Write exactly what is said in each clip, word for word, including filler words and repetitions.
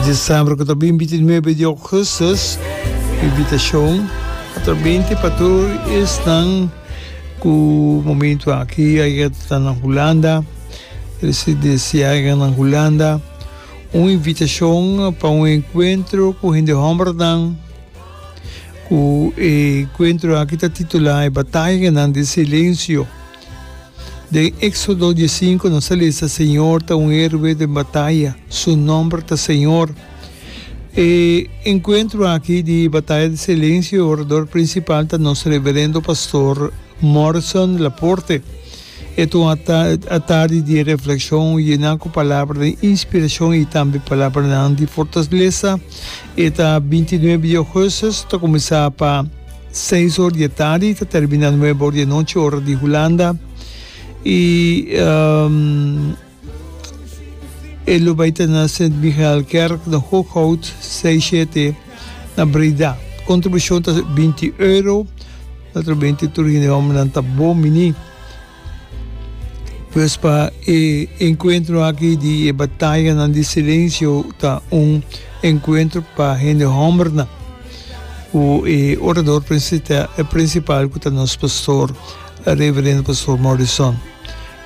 December ku ta bintinuebe di ougùstùs. Invitashon atrabente pa tur esnan ku momentu aki a ta na Hulanda, residensiá na Hulanda. Un invitashon pa un enkuentro ku hende hòmbernan, ku e enkuentro aki ta titulá "E Batayanan di Silensio". Den Éxodo diesinku nos ta lesa: "Señor ta un héroe di bataya, su nòmber ta Señor". E enkuentro aki di Bataya di Silensio, orador prinsipal ta nos reverendo pastor Morrison Laporte. E ta un atardi di reflekshon yená ku palabra di inspirashon i tambe palabra di fortalesa. E ta bintinuebe di ougùstùs, ta kuminsá pa seis or di atardi, ta terminá nuebe or di anochi, ora di Hulanda. I um, e lo bai ta na Sint Michaelkerk na Hooghout sesenta i shete na Breda. Kontribushon ta binti euro. Naturalmente, tur hende hòmber ta bon biní. Pues pa e enkuentro aki di Bataya di Silensio ta un enkuentro pa hende hòmber. O e orador prinsipal ku ta nos pastor, reverendo pastor Morrison.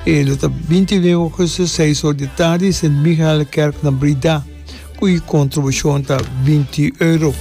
E ta bintinuebe di ougùstùs, seis or di atardi, Sint Michaelkerk na Breda. Ku kontribushon ta binti euro.